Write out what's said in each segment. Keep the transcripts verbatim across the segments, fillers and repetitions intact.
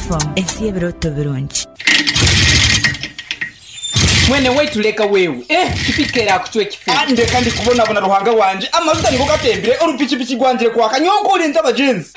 F M, ensi y'ebirooto birungi. Mwene waitu, leka wewe, eh, kipiki erakucwa ekifu. Ah, ndeka, ndi kubonabona. Ruhanga wanje, amajuta nigo gatembere, orupikipiki rwangire kwaka nyonkurinze abagenzi.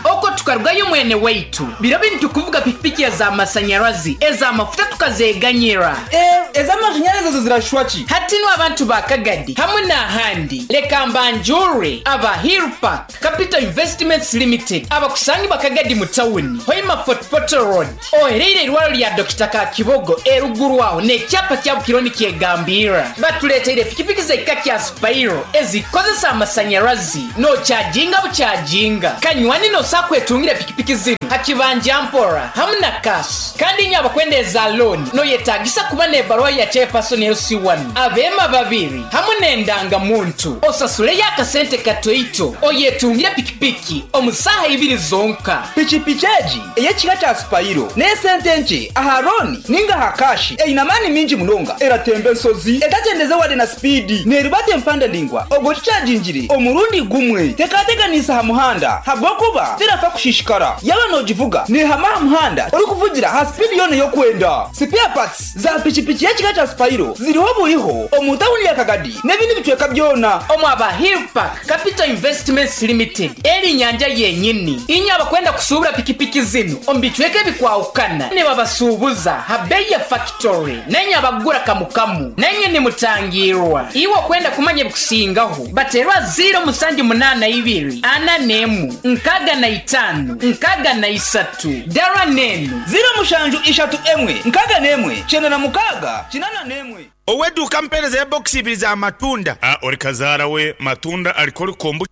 Oko tukarugayo, mwene waitu, biro bintu kuvuga pikipiki ez'amasanyarazi, ez'amafuta tukazeganyira. Eh, ez'amashanyarazi ezo zirashwa ki? Hatinu abantu ba Kagadi hamwe n'ahandi, leka mbanjure aba Hillpark Capital Investments Limited, abakusangi bakagadi mu tawuni Hoima, Fort Portal Road, ohereire irwaro lya Dokita Kakibogo eruguru aho n'ekyapa kya Bukironi kyegambira. Batuleteire pikipiki z'ekika kya Spiro ezikozesa amasanyarazi, nokyajinga bukyajinga kanywani. Nosa kwetungira pikipiki zino hakibanja mpora hamwe na cash. Kandi inyo abakwenda eza loan, noyetagisa kuba n'ebaruwa ya chairperson L C one, abema babiri hamwe n'endangamuntu, osasuleyo akasente katoito, oyetungire pikipiki omu saaha ibiri zonka. Pikipiki egi ey'ekika kya Spiro n'esente nke aha loan ninga aha cash, eine amaani mingi munonga, eratemba ensozi etakyendeze wade na speed, neribata empanda ndingwa ogwo kikyagingire omurundi gumwe, tekateganisa aha muhanda habwokuba terafa kushishikara. Yaba nogivuga nehama aha muhanda orikuvugira ha speed yona ey'okwenda. Spare parts za pikipiki y'ekika kya Spiro ziriho buriho omu tawuni ya Kagadi n'ebindi bicweka byona. Omu aba Hillpark Capital Investments Limited, eri nyanja yenyini. Inyo abakwenda kusuubura pikipiki zino omu bicweka ebikwahukana, nibabasuubuza ha bei ya factory, nenye abagura kamukamu nenye nimutangirwa. Iwe okwenda kumanya ebikusingaho, baterwa ziro musanju munana ibiri ana nemu nkaga na itano nkaga na isatu dara nenu. ziro mushanju ishatu emwe nkaga nemwe kyenda na mukaga kinana nemwe. Ow'edduuka, mpeereza ya bokisi ibiri za matunda. Ah, ori kazaara we matunda ariko orikombu.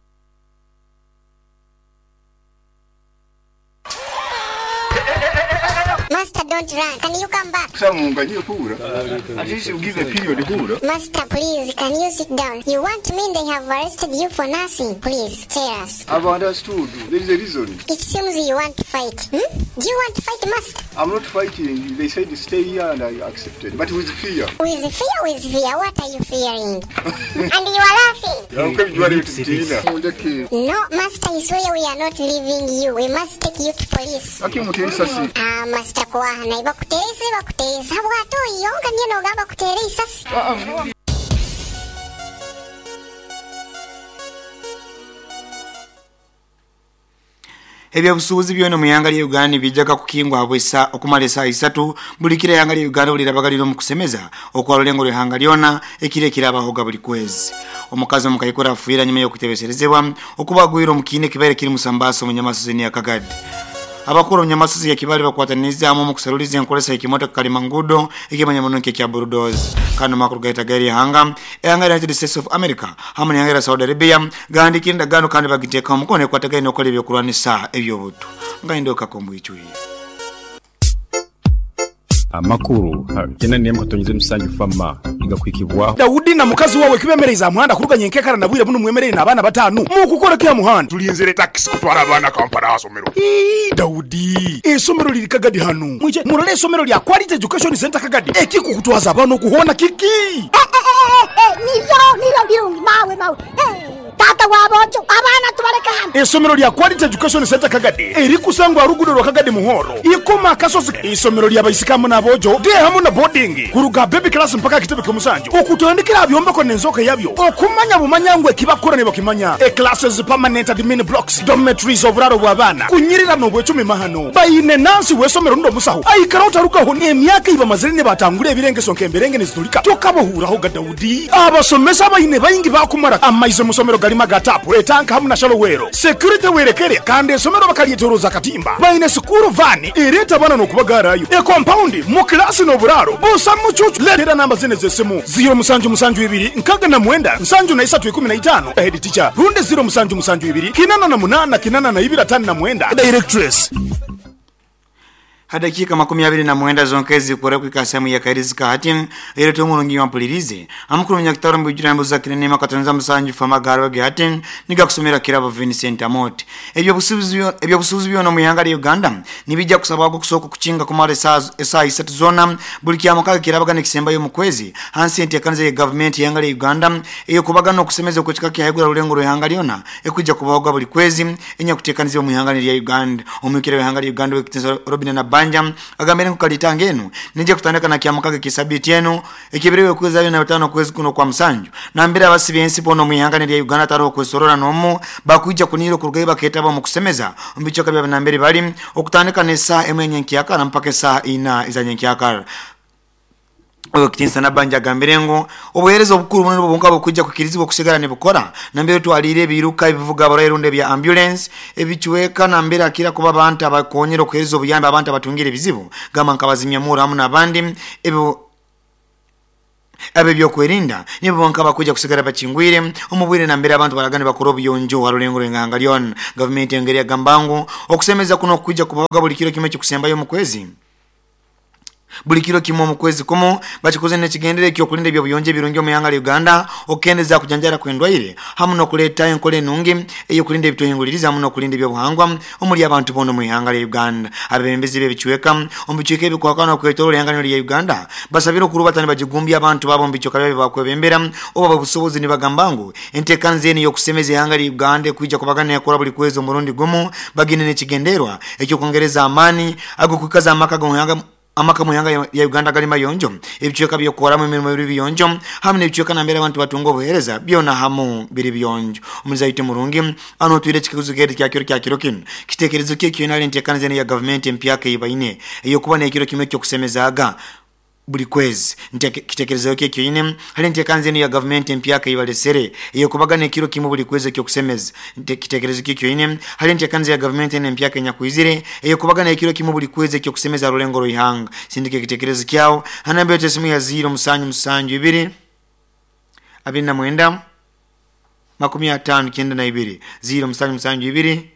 Master, don't run. Can you come back? At least you give a period hura. Master, please, can you sit down? You want to mean they have arrested you for nothing? Please, tell us. I've understood. There is a reason. It seems you want to fight. Hmm? Do you want to fight, Master? I'm not fighting. They said stay here and I accepted. But with fear. With fear, with fear. What are you fearing? And you are laughing. No, Master, I swear we are not leaving you. We must take you to police. Ah, Master Kwahana, bakuteese bakuteesa bw'ate oyonga nnyo n'ogamba kuteera isasi. Ebyobusuubuzi byona mu yanga lya Uganda bijjaga kukingwa bwesa okumala esaawa isatu buli kira. Yanga lya Uganda bulirabagalira mu kusemeza okwalulengo lw'ehanga lyona, ekiro ekirabahoga buli kwezi. Omukazi omukaikura afuira nyuma y'okutebeserezebwa okubagwira omukiine kibaire kiri musambaso munyamasozi ni Akagadi. Abakuru munyamasozi ya Kibali bakwatanizaamu mu kusaluliza enkolesa ekimotoka kalimangudo ekimanya muno nk'ekya bulldozer. Kano makuru gaita gari hanga ehanga United States of America hamwe n'ehanga lya Saudi Arabia gandikira endagaano kandi bagiteeka omukono ekwatagaine okukola ebyokulwanisa ebyobutu nga ndoka kombwicwiye. Amakuru kena niyemu katonyize musanju fama igakwikibwaho. Dawudi na mukazi wawe kibemereza muhanda kuruganya enkekara na bwire buno, mwemerere n'abaana batanu mukukora kya muhanda. Tulinzire takisi kutwara abaana Kampala asomero. Ii, Dawudi, esomero liri Kagadi hano, mwije murole esomero lya Quality Education Center Kagadi. Ekikukutwaza abaana okuhona kiki? Nibyo nibyo birungi, mawe mawe. Eh, tata wabojo, abaana tubaleka hano. Esomero lya Quality Education Center Kagadi erikusangwa rugudo rwa Kagadi Muhoro ikoma akasozi, isomero ly'abaisikamu n'abojo de hamu na boarding, kuruga baby class mpaka kitebe ky'omusanju, okutandikira byombeko n'enzoka yabyo okumanya bumanya ekibakora ne bakimanya. E classes, permanent admin blocks, dormitories, oburaro bw'abaana kunyirira n'obwecumi mahano. Bayine nansi w'esomero ndo musaho aikara otarukaho emyaka ibamazire ne batangura ebirengeso nk'emberenge nezitulika tokabohuraho ga. Dawudi, abasomesa bayine bayingi bakumara amaize musomero galima gatapu etanka hamu na shalowero, security werekere, kandi esomero bakalyetoroza katimba. Bayine school van ereta bana n'okubagarayo, e compound mu klasi n'oburaro busa mucucu. Letera namba zine z'essimu: ziro musanju musanju ibiri nkaga na mwenda nsanju na isatu ikumi na itano, head teacher, runde ziro musanju musanju ibiri kinana na munana kinana na ibiri atano na mwenda, directress. Hadakika makumi abiri na mwenda zonkezi kura kwika sehemu ya kairizika hati ere tumurungi wampulirize amukuru munyakitaro mbujira mbuza kinene makatonza musanju famagaro ge hati niga kusomera kirabo Vincent Amot. Ebyo busubuzi ebyo busubuzi byo no muyanga ya Uganda nibijja kusaba kusoko kuchinga kumara saa isatu zona buli kyamaka kirabaga nekisemba yo mukwezi hansi entekanze ya government yanga ya Uganda eyo kubaga no kusemeza kuchika kyahegura rulengo ruhanga lyona ekujja kubahoga buli kwezi enya kutekaniza mu yanga ya Uganda. Omukire wa yanga ya Uganda wekitiza Robin na Banja agambire kukalitanga enu nije kutandika na kyamukage kisabiti enu ekibirewe kwezi na tano kwezi kuno kwa musanju nambira abasibe ensi bono mu ihanga lya Uganda taro kwesorora nomu bakuja kuniro kurugaye baketaba mu kusemeza umbicho kabya nambere bali okutandika ne saa emwe nyenkyakara mpaka saa ina izanyenkyakara. Okitinsa na Banja gambirengo obuhereza obukuru muno bubunga bukujja kukirizibwa kusigala ne bukora nambere twalire ebiruka ebivuga abarwaire bya ambulance ebichweka nambere akira kuba abantu abakonyera okuhereza obuyambi abantu abatungire ebizibu gamba nkabazimya mura hamu nabandi ebyo abe byokwerinda nibo bonka bakuja kusigala bachingwire omubwire nambere abantu baragane bakora obuyonjo warulengo nganga lyon. Government engeri ya gambango okusemeza kuno kuja kubaga buli kiro kimwe kikusembayo mu kwezi buli kiro kimwe mu kwezi kumu bakikoze nekigendere kyo kulinda ebyo buyonje birungi mu yanga Uganda okendeza kujanjara kwendwaire hamu no kuleta enkole nungi eyo kulinda ebitoyinguliriza hamu no kulinda ebyo buhangwa omuli abantu bono mu yanga Uganda. Abembezi bebichweka omubichweka ebikwakana kwetoro yanga lya Uganda basabira okurubatana bagigumbya abantu babo mbichoka byabe bakwebembera oba busobozi ni bagambangu entekanze eni yokusemeza yanga Uganda kuija kubagana yakora buli kwezi omurundi gumu bagine nekigenderwa ekyo kongereza amani ago kukaza amaka go yanga amaka muyanga ya Uganda galima yonjo ebichweka byokoramu emirimo biri biyonjo hamu nebichweka nambere abantu batunga obuhereza byona hamu biri biyonjo. Omuzaite murungi ano twire chikuzu keri kya kiro kya kiro kino kitekerezo kye kyona entekanze ya government empyaka ibaine eyo kuba nekiro kimwe kyo kusemezaga buli kwezi kitekerezo kye kyine hali entekanze ya government empyaka ibalesere eyo kubagana ekiro kimwe buli kwezi kyo kusemeza kitekerezo kye kyine hali entekanze ya government empyaka nyakuizire eyo kubagana ekiro kimwe buli kwezi kyo kusemeza rulengo ruhanga. Sindike kitekerezo kyao hanambe tesimu ya zero musanju musanju ibiri abiri na mwenda makumi atano kyenda na ibiri zero musanju musanju ibiri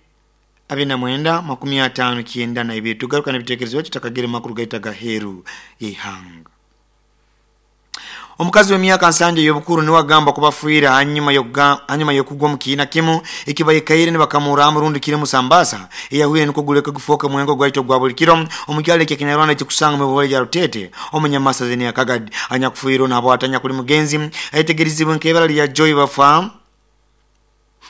abiri na mwenda makumi atano kyenda na ibiri. Tugaruka na bitekerezo byacu takagere makuru gaita gaheru yihanga. Omukazi w'emyaka nsanje y'obukuru niwe agamba kubafuira hanyuma yoga hanyuma yokugwa mu kiina kimu ekibaye kaire ne bakamura amurundi kire musambasa eyahuye niko guleka gufoka mwengo gwaito gwa buli kiro omukyalo ekye Kinyarwanda kikusanga mu bwole ya Rutete omunyamasa zeni akagadi anyakufuiro nabo atanya kuli mugenzi aitegerizibwe nkebala lya Joy bafa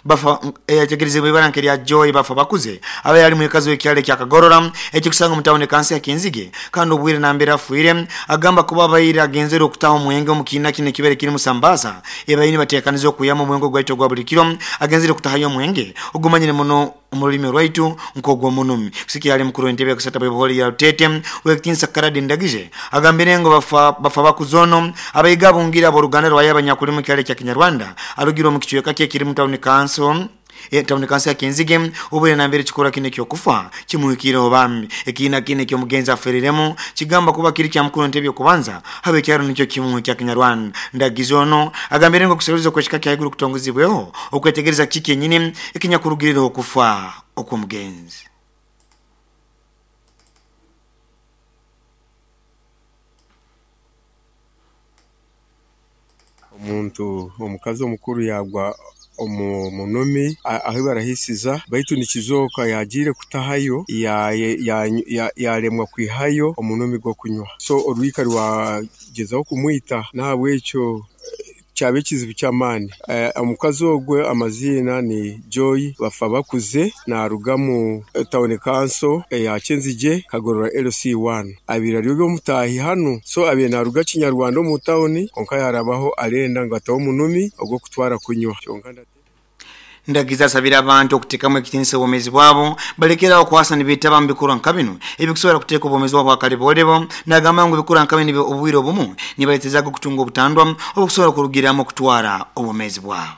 bafa eyategerezebwa ibara nkeri ya Joy bafa bakuze abe yali mwekazi w'ekyalo kya Kagorora ekikusanga mu tawuni kansi ya Kinzige kandi obwire nambera afuire agamba kuba bayira agenzera okutaho omwenge mu kiina kine kibere kiri musambasa ebayini batekaniza okuyama omwenge gwaito gwa buli kiro agenzere okutahayo omwenge ogumanyire muno omulimi rwaitu nkogwo munumi kusikia ali mukuru entebe kusata bwe ya Rutete wekitinsa Karadi Ndagije agambire ngo bafa bafa bakuzono abayiga bungira boruganda rwa yabanyakuri mu kyalo kya Kinyarwanda arugira mu kichweka kye kiri mu tawuni kanso e tawuni kanso ya Kinzige ubure nambere chikora kine kyo kufa kimuhikire obambi ekina kine kyo mugenza aferiremo kigamba kuba kiri kya mukuru entebe kubanza habe kyaro nicyo kimu kya Kinyarwanda. Ndagizono agambire ngo kuseruza kweshika kya iguru kutongozibweho okwetegereza kiki nyine ekinyakurugirira okufa okw'omugenzi. Omuntu omukazi omukuru yagwa omu munumi aho barahisiza baitu nikizoka yagire kutahayo ya ya yaremwa kwihayo omunumi gwo kunywa so orwika rwagezaho kumwita nahabwekyo cyabe kizibu cyamani. Omukazi ogwe amazina ni Joy bafa bakuze na rugamu town council ya Kinzige Kagorora L C one abira ryo mutahi hano so abiye na ruga Kinyarwanda mu town konka yarabaho arenda ngo ataho munumi ogwo kutwara kunywa. Ndagiza sabira abantu okutekamu ekitinisa obwomezi bwabo balekera okwasa nibitaba mbikura nkabino ebikusobola kuteeka obwomezi bwabo akalibolebo nagamba ngu bikura nkabino obwire obumu nibaletezaga okutunga obutandwa obukusobola kurugiramu okutwara obwomezi bwabo.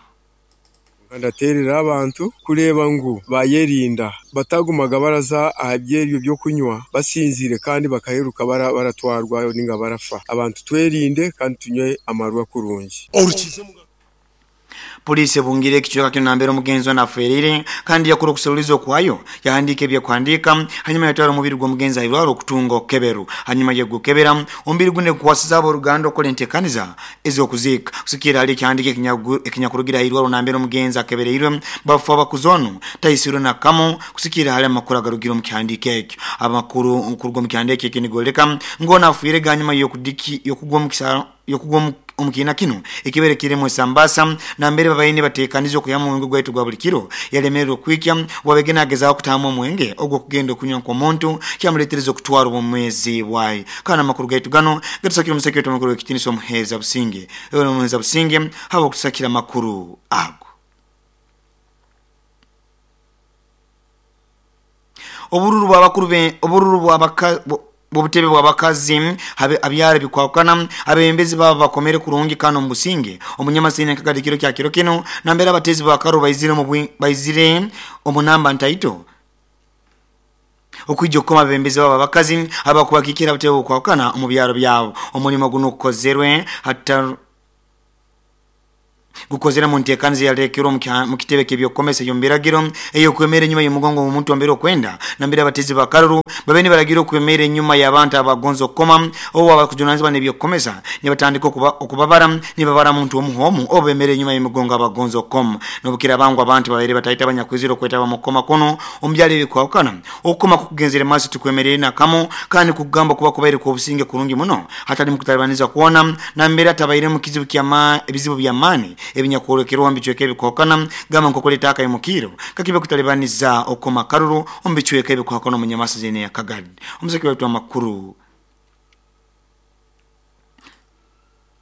Ndaterera abantu kureba ngu bayerinda batagumaga baraza ahabyeryo byo kunywa basinzire kandi bakaheruka baratwarwa ninga barafa. Abantu twerinde kandi tunywe amarwa kurungi. Polisi ebungire ekicweka kino nambere omugenzi ono aferire kandi yakora okuseruliza okwayo yahandika ebyakuhandika hanyuma yatwara omubiri gw'omugenzi airwara okutunga okeberu hanyuma yegukebera omubiri gune kukwasiza abooluganda okukola enteekaniza ez'okuziika kusikira hali ekihandika ekinyakurugira airwaro nambere omugenzi akebereirwe bafu abakuzi ono taisirwe nakamu kusikira hali amakuru agarugire omu kihandiiko ekyo. Amakuru okuruga omu kihandiiko ekyo nigoleka ng'ono afiire ganyuma y'okudiki y'okugwa omu kisaro y'okugwa omukiina kino ekibere kiremu esambasa nambere babaine bateekaniza okuyamu omwenge gwaitu gwa buli kiro yalemererwa okwikya wabegena agezaho kutaamu omwenge ogwo kugenda okunywa nk'omuntu kyamuleetereza okutwara obwomeezi bwaye. Kandi amakuru gaitu gano gatusakira omuseke wetu omukuru w'ekitiinisa omuheeza Businge ewe omuheeza Businge haba okutusakira amakuru ago. Obururu bw'abakuru be obururu bw'abaka bubutebe bw'abakazi abyara bikwakana abembezi baba bakomere kurungi kano mubusinge omunyamasini akagadikiro kya kiro kino nambere abatezi bakaro baizire mu baizire omunamba ntaito okwijja okukoma abembezi baba abakazi abakubakikira abatebe okwakana omu byaro byabo. Omulimo guno gukozerwe hatta gukozera mu nteekaniza yalekerwa mu kitebe ky'ebyokukomesa eby'omu eyokwemera enyuma y'omugongo omuntu ambere okwenda nambere abatezi bakaruru babeni balagira okwemera enyuma y'abantu abagonza okukoma obo abakujunanizibwa n'ebyokukomesa nibatandika okubabara nibabara muntu omuhomu obo bemera enyuma y'emigongo abagonza okukoma n'obukira bangu abantu babaire batahita abanyakwizira okwetaba mu kukoma kuno omu byaro ebikwahukana. Okukoma kukugenzere maaso tukwemerere nakamu kandi kugamba kuba kubaire kw'obusinge kurungi muno hatali mu kutalibaniza kwona nambere atabaire mu kizibu ky'amaani ebizibu by'amaani ebinyakwolekera omu bicweka ebikwahukana gamba nkokuleta akayimukiro kakibe kutalibaniza okukoma karuru omu bicweka ebikwahukana omunyamasa zene ya Kagadi. Omuseke waitu amakuru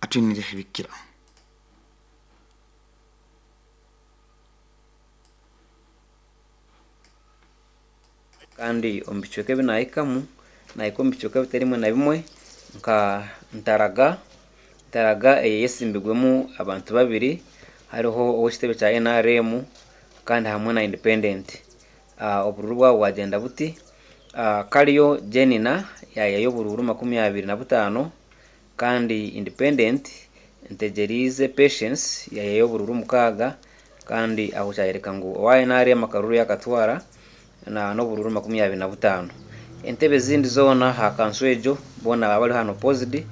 atwinire ebikira. Kandi omu bicweka ebinahikamu nahika omu bicweka bitarimwe na bimwe nka Ntaraga. Ntaraga eyesimbigwemu abantu babiri hariho ow'ekitebe kya N R M kandi hamwe na independent. Uh, obururu bwabo bwagenda buti uh, Kariyo Jenina yayayo obururu makumi abiri na butaano kandi independent Ntegerize Patience yayayo obururu mukaaga kandi aho kyayereka ngu owa N R M akaruru yakatwara na n'obururu makumi abiri na butaano. Entebe zindi zoona ha kanso ejo boona baba bari hano opposed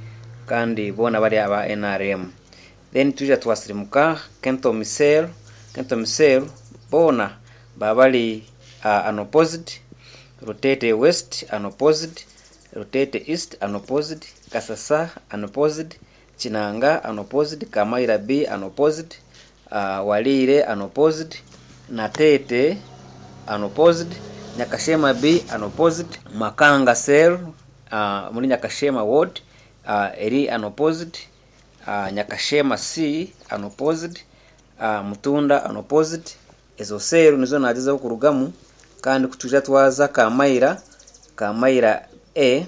kandi boona bari aba N R M. Then tuja twasirimuka Kento Misel Kento Misel boona babali uh, unopposed, Rutete West unopposed, Rutete East unopposed, Kasasa unopposed, Chinanga unopposed, Kamaira B unopposed, uh, Walire unopposed, Natete unopposed, Nyakashema B unopposed, Makanga Cell uh, muri Nyakashema Ward uh, eri unopposed, uh, Nyakashema C unopposed, uh, Mutunda unopposed. Ezo seru nizo nagezaho kurugamu kandi kutuja twaza Kamaira Kamaira A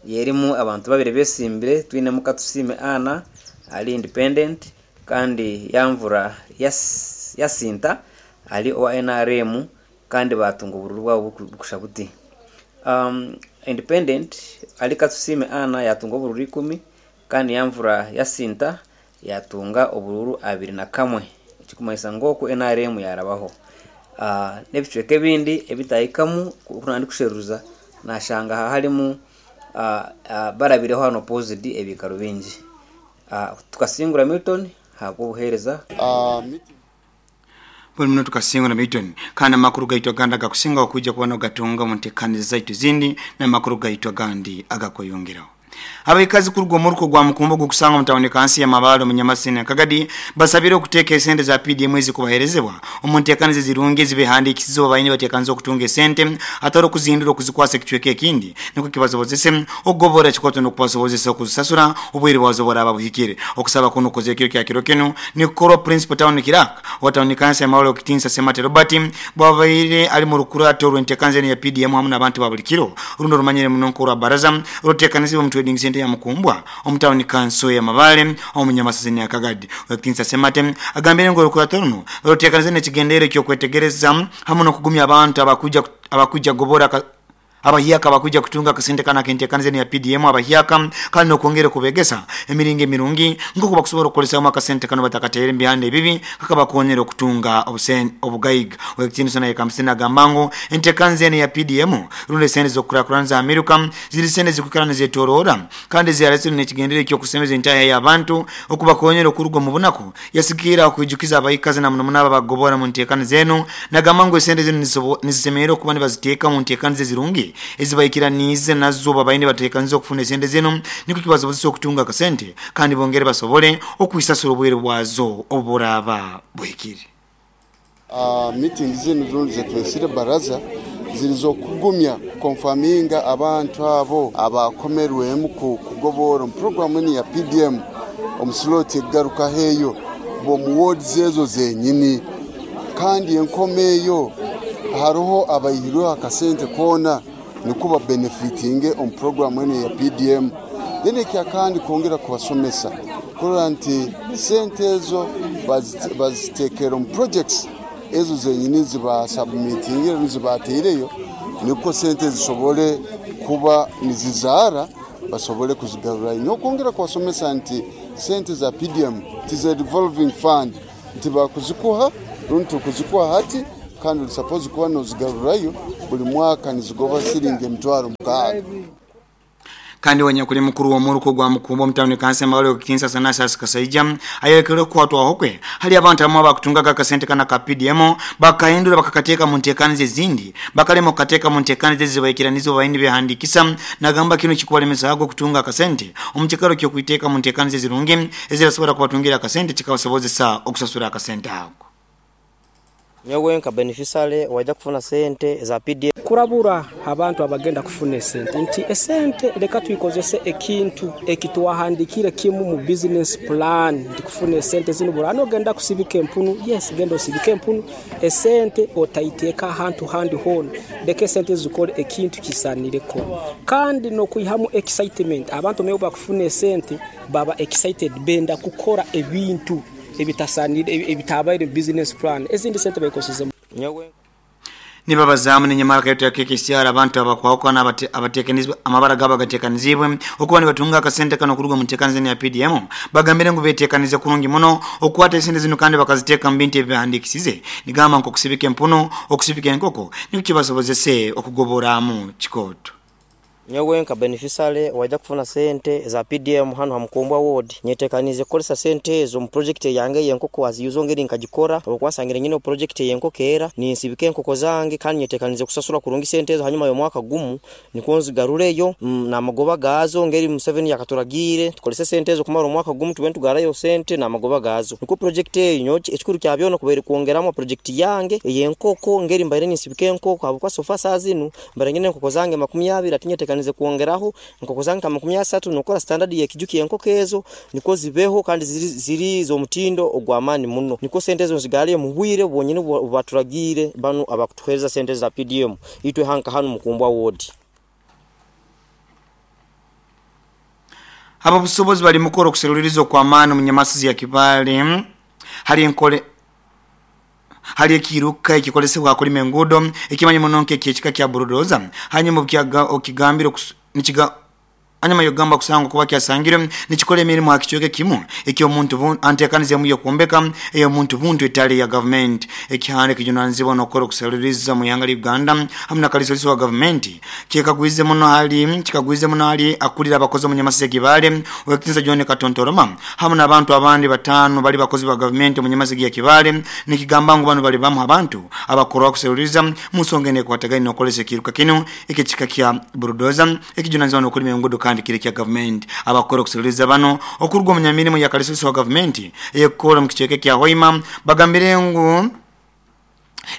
yerimu abantu babiri besimbire twinemu Katusime Ana ali independent kandi Yamvura yas, Yasinta ali owa N R M kandi batunga obururu bwabo bukusha buti. Um, independent ali Katusime Ana yatunga obururu ikumi kandi Yamvura Yasinta yatunga obururu abiri na kamwe ekikumanyisa ngoku N R M yarabaho. Uh, n'ebicweka ebindi ebitahikamu kunandi kusheruza nashanga harimu uh, uh, barabireho hano opposite ebikaro bingi. Uh, tukasingura Milton habwo obuhereza uh, buli muno tukasingura Milton kandi amakuru gaitwa gandi agakusinga okujja kuba nogatunga mu nteekaniza zaitu zindi n'amakuru gaitwa gandi agakweyongeraho. Abaikazi kuruga omuruko gwa Mukumbo gukusanga mutawuni kansi ya Mabalo munyamasini Kagadi basabire okuteeka esente za P D M ezikubaherezebwa omu nteekaniza zirungi ezibehandiikisize baine bateekaniza okutunga esente atari okuzindura okuzikwasa ekicweka ekindi nikwo kibasobozese okugobora ekikwato n'okubasobozesa okuzisasura obwire bwazo buraba buhikire. Okusaba kuno kukozere ekiro kya kiro kino nikukorwa Principal Town Clerk wa tawuni kansi ya Mabalo Okitinsa Semate Robert bwabaire ali mu rukurato rw'enteekaniza ya P D M hamwe n'abantu ba buli kiro runo rumanyire muno nkorwa baraza ruteekanizibwa mu trading center ya Mukumbwa omutawuni kanso ya Mabale omunyamasazini ya Kagadi. Okitinsa Semate agambire ngo rukurato runo ruteekaniza n'ekigendere ky'okwetegereza hamwe n'okugumya abantu abakuja abakuja gobora Abahiaka bakuja kutunga kasente kana kentekanize ya P D M abahiaka kandi nokwongera kubegesa emiringo emirungi ngoko bakusobola okukolesa mu akasente kano batakateere mbihande ebibi kakabakonyera okutunga obusen obugaiga. Wekitini sana yekamsina gambango entekanze ya P D M runde sente zokurakuranza Amerika ziri sente zikukarana zetorora kandi ziyaretse nekigendere kyo kusemeza entaya y'abantu okubakonyera okuruga mu bunaku yasikira okujukiza abayikazi na muno munaba bagobora mu ntekano zenu nagamango sente zenu nizisemero kuba nibaziteeka mu ntekano zirungi ezibayikiranize nazo babayine batekanze okufuna esente zenu niko kibasobozesa okutunga akasente kandi bongere basobole okwisasura obwere bwazo oburaba bwekiri. Uh, meeting zinu zundu zetwesire baraza zilizokugumya konfaminga abantu abo abakomerwemu kugobora mu programu ni ya P D M omuslot egaruka heyo bo mu wards ezo zenyini kandi enkomeyo haroho abayirwe akasente kona nikuba benefitinge on programu eno ya P D M. Then ekya kandi kongera kubasomesa kurora nti sente ezo bazitekera mu projects ezo zenyini ziba submitinge zibateireyo niko sente zisobole kuba nizizara basobole kuzigarura. Nokongera kubasomesa nti sente za P D M tize revolving fund nti bakuzikuha runtu kuzikuha hati kandi suppose kuba nozigarurayo buli mwaka nizigoba siringi emitwaro mukaaga. Kandi wanyakuli mukuru wa muruko gwa mukumbo mtawuni kansa mbalo kitinsa sana sasa kasaija ayelekele kuwatwa hokwe hali abantu amwe bakutunga akasente kana ka P D M bakahindura bakakateka mu ntekanize zindi bakalemo kateka mu ntekanize zibayikiranizo bayindi behandikisa nagamba kino kikubalemesa hago kutunga akasente omukikaro kyo kuiteka mu ntekanize zirungi ezirasobora kubatungira akasente kikabasobozesa okusasura akasente ako. Nyowe nka beneficiary wajja kufuna sente za P D M kurabura abantu abagenda kufuna sente nti esente leka tuikozese ekintu ekituwahandikire kimu mu business plan nti kufuna sente zino burano genda kusibika empunu yes genda osibike empunu esente otaiteka ahantu handi hona leka sente zikole ekintu kisanireko kandi no kuihamu excitement abantu meyo bakufuna sente baba excited benda kukora ebintu ebitasanire ebitabaire business plan ezindi sente bayikoseze. Nyowe nibabazamu nenyamara kayoto ya K K C R abantu abakwako na abatekanizwe amabara gaba gatekanizibwe okuba nibatunga akasente kano kuruga mu ntekanizeni ya P D M bagambire ngu betekanize kurungi muno okwata esente zino kandi bakaziteka mu bintu ebihandikisize nigamba nko kusibika empuno okusibika enkoko niko kibasobozese okugoboramu kikoto. Nyowe nka beneficiary wajja kufuna sente za P D M hano hamukumbwa ward nyetekanize kukolesa sente ezo mu project yange yenkoko aziyuzo ngeri nkagikora okwasangire nyine project yenkoko era ninsibike enkoko zange kandi nyetekanize kusasura kurungi sente ezo hanyuma yo mwaka gumu niko nzigarureyo mm, na magoba gazo ngeri Museveni yakaturagire tukolese sente ezo kumara omwaka gumu tube ntugarayo sente na magoba gazo niko project eyo ekikuru kyabyo kubere kuongeramo project yange yenkoko ngeri mbaire ninsibike enkoko abukwa sofa sazinu mbare nyine enkoko zange makumi abiri atinyetekanize kuongeraho nkoko zange makumi asatu nokora standard ya kijuki enkoko ezo niko zibeho kandi ziri, ziri zo mutindo ogwamani muno niko sente ezo zigaliye mu bwire bwonyine baturagire banu abakutuhereza sente za P D M itwe hanka hanu mukumbwa ward. Aba busobozi bali mukoro kuserulirizo kwa maana munyamasizi ya Kibale hali enkole hali ekiruka ekikolesebwa kulima enguudo ekimanyi munonke ekika kya bulldozer hanyuma okigambiro nikiga anyuma yogamba kusanga kuba kyasangire nikikola emirimu akichoke kimu ekyo omuntu antekanize mu yokumbeka eyo omuntu buntu etali ya government ekihande kijunanizibwa nokora kusaliriza mu yanga Uganda hamna kalisoliso wa government kikagwize muno hali kikagwize muno hali akulira abakozi mu Nyamasisi Kibale wekitinza John Katontoroma hamna abantu abandi batano bali bakozi ba government mu Nyamasisi ya Kibale nikigamba ngo bano bali bamu abantu abakora kusaliriza musongene kwatagani nokolese kiruka kino ekikika kya bulldozer ekijunanizibwa nokulima enguudo kandi kile kya government abakora kusaliriza bano okurugwa munyamirimo ya kalisoliso wa government eyekora mu kicheke kya Hoima bagambire ngu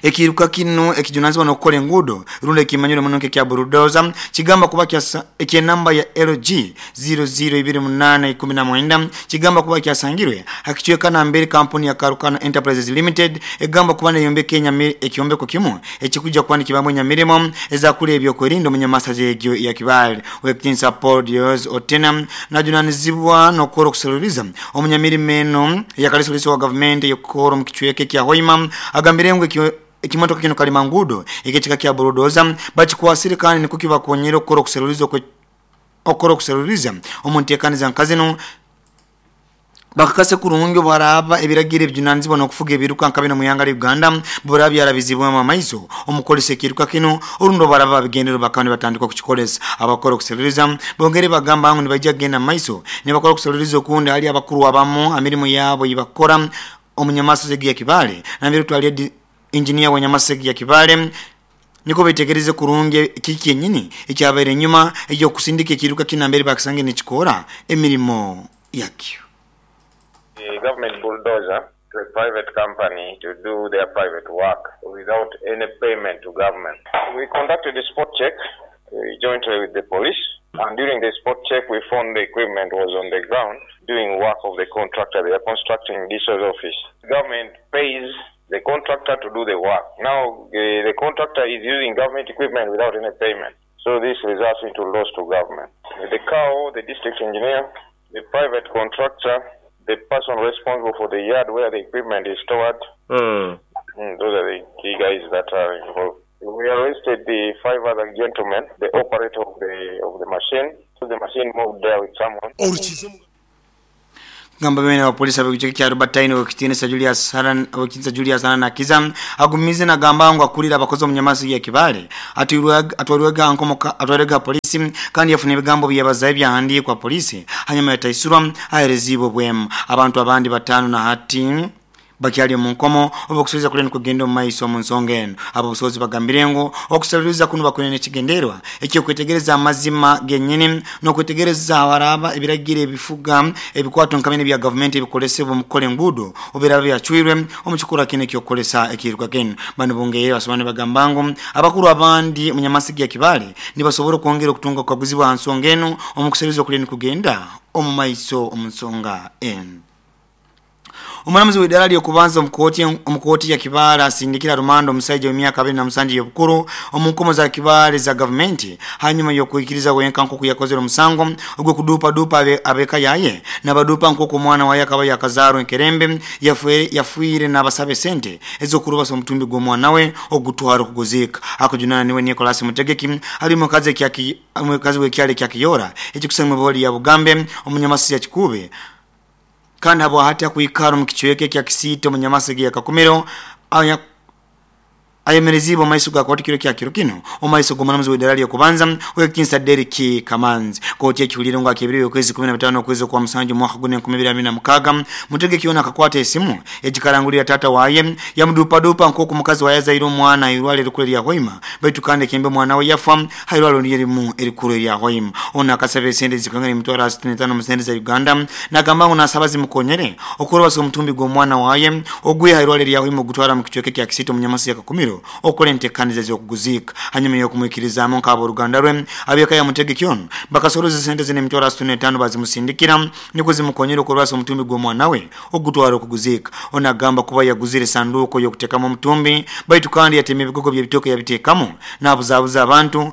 ekiruka kino ekijunanizibwa nokukola enguudo rundi ekimanyire munonke kya bulldozer kigamba kuba kya ekyenamba ya L G zero zero ibiri munana ikumi na mwenda kigamba kuba kyasangirwe hakichweka na mbere kampuni ya Karukana Enterprises Limited egamba kuba neyombe Kenya ekyombeko kimu ekikuja kuba nikibamwe nyamirimo ezakule ebyokwerinda munyamasaje ya Kibale wekitinsa Paul Otena najunanizibwa nokora kusaluriza omunyamirimo eno ya kalisoliso wa government yokoro mu kichweke kya Hoima agambire ngu Ekimotoka kino kalimangudo ekekika kya bulldozer bakikwasire kandi niko kibakonyera okukora okuseruliza okukora okuseruliza omuntekaniza nkazino bakakase kurungi baraba ebiragiro ebijunanizibwa n'okufuga ebiruka nka bino mu ihanga lya Uganda buraba byarabizibwemu amaiso omukolesa ekiruka kino orundi baraba babigendero bakaba nibatandika okukikolesa. Abakora okuseruliza bongere bagamba ngu nibajja kugenda mu maiso nibakora okuseruliza okundi hali abakuru abamu emirimu yaabo yibakora omunyamaso ya Kibale nambere twali engineer wa Nyamasegi ya Kibale niko betegereze kurungi kiki yenyini ekyabaire enyuma ekyokusindika ekiruka kinambere bakisange nikikora emirimo yakyo. The government bulldozer to a private company to do their private work without any payment to government. We conducted a spot check uh, jointly with the police, and during the spot check we found the equipment was on the ground doing work of the contractor. They are constructing D S O's office. The government pays the contractor to do the work. Now the, the contractor is using government equipment without any payment. So this results into loss to government. The C A O, the district engineer, the private contractor, the person responsible for the yard where the equipment is stored. Mm. Mm, those are the key guys that are involved. We arrested the five other gentlemen, the operator of the of the machine. So the machine moved there with someone. Gamba bene wa polisi abekucheki kya Robertine okitinisa Julius Haran okitinisa Julius Haran akiza agumize na gamba ngo akulira abakozi omunyamasi ya Kibale atwalwega nkomoka atwalwega polisi kandi yafuna ebigambo byabazaye byahandikwa polisi hanyuma yataisurwa aherezibo bwemu abantu abandi batano na hati bakyali mu nkomo obukusubiza kule nkugenda mu maiso mu nsonga eno. Abo busozi bagambire ngo okusaliriza kuno bakunene kigenderwa ekyo kwetegereza amazima gennyini n'okwetegereza abaraba ebiragiro ebifuga ebikwato nkamene bya government ebikolesebwa mu kukola enguudo oberaba byacwirwe omukikula kino ekyokukolesa ekiruka kino. Bano bongeye basobane bagamba ngo abakuru abandi munyamasigi ya Kibale nibasobola okwongera okutunga okukaguzibwa nsonga eno omukusaliriza kule nkugenda omu maiso omu nsonga eno. Omulamuzi w'iddaala ly'okubanza omukooti omukooti ya Kibale asindikira rumando omusajja w'emyaka abiri na musanju y'obukulu omu nkomo za Kibale za gavumenti hanyuma y'okwikiriza wenka nk'oku yakozere omusango ogw'okuduupaduupa ab'eka yaye n'abaduupa nk'oku omwana waye akaba yakazaarwa enkerembe yafiire n'abasaba esente ez'okurubasa omutumbi gw'omwana we ogutwara okuguziika. Akujunaana niwe Nicholas Mutegeki ali mukazi mukazi w'ekyalo ekya Kiyora ekikusangibwa booli ya Bugambe omunyamasi ya Kikube kandi abo hati akuikaro mu kichweke kya Kisito munyamasigi ya Kakumiro aya ayemerezibwa maiso ga koti kiro kya kiro kino omaiso g'omulamuzi w'iddaala ly'okubanza wekinsa Derek Kamanzi. Kooti ekiwulire ngo akebiri okwezi kumi na bitano okwezi kwa musanju mwaka gune enkumi ibiri abiri na mukaaga Mutegeki yona akakwata esimu egikarangulira tata waye yamudupadupa nk'oku mukazi waye azaire omwana irwale erikulu erya Hoima baitu kandi ekembe omwana we yafa hairwale lyerimu erikulu erya Hoima. Ono akasaba esente zikangana emitwaro asatu n'etaano mu sente za Uganda nagamba ngo nasaba zimukonyere okurobasa omutumbi gw'omwana waye ogwiha irwale erya Hoima ogutwara mu kichweke kya Kisito munyamasi ya Kakumiro okola enteekaniza z'okuguziika hanyuma y'okumwikirizaamu nk'abooluganda lwe ab'eka ya Mutegeki ono bakasoloza sente zino emitwaro asatu n'etaano bazimusindikira niko zimukonyera okurwasa omutumbi gw'omwana we ogutwara okuguziika. Ono agamba kuba yaguzire sanduuko y'okuteekamu omutumbi baitu kandi yatema ebigogo by'ebitooke yabiteekamu n'abuzaabuza abantu.